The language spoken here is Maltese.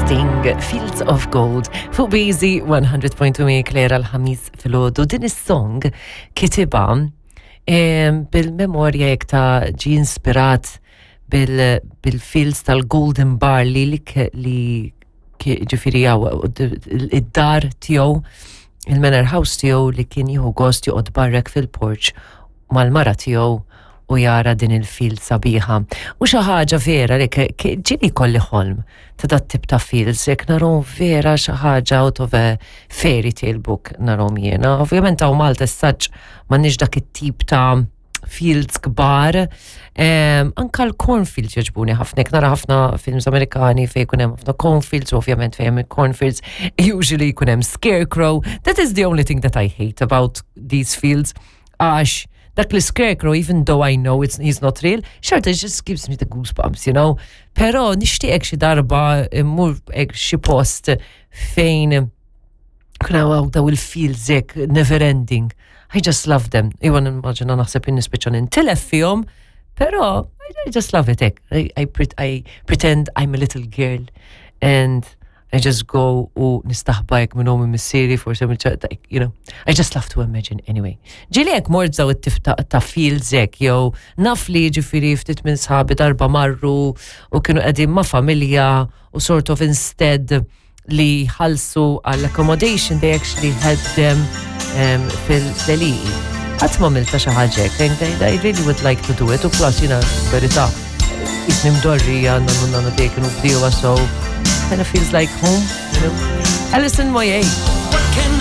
Sting, Fields of Gold, fuq Busy 100.2 Claire l-ħamis filgħodu. Din is-song kitibha bil-memorja jekk ta' ġi inspirat bil-fields tal-Golden Barley li li ġifiri għaw id-dar tiegħu il-manor house tiegħu li kien jieħu gost joqgħod barrek fil-porch mal-mara tiegħu u jara din il-field sabiħa. U xi ħaġa vera li ġieli kolli ħolm ta' dat tip ta' fields, jekk narhom vera xi ħaġa out of a fairy tale book narhom jiena. Ovvjament hawn Malta s-saġġ m'għandniex dak it-tip ta' fields kbar. Anka l-cornfields jogħġbuni ħafna, jekk nara ħafna films Amerikani fejn jkun hemm ħafna cornfields, ovvjament fejn hemm cornfields, usually jkun hemm scarecrow. That is the only thing that I hate about these fields. Għax dak li scarecrow, even though I know it's, he's not real, xorta it just gives me the goosebumps, you know. Pero nixtieq xi darba immur xi post fejn kuna għaw daw il-fields hekk never ending. I just love them. Iwa nimmaġina naħseb in-nispiċċa nintilef fihom, pero I just love it hekk. I, I, I pretend I'm a little girl and I just go u nistaħba jek minn ommi missieri, forse you know, I just love to imagine anyway. Ġili jek mort zaw it-tif ta' fields hekk, jew naf li ġifiri ftit minn sħabi darba marru u kienu qegħdin ma' familja u sort of instead li ħalsu għall accommodation they actually help them um, fil-deliqi. Qatt ma milta xi ħaġa hekk, I really would like to do it u plus jiena verità jisni mdorrija nonnu nannu tiegħi kienu bdiewa so kind of feels like home, you know. Alison Moyet.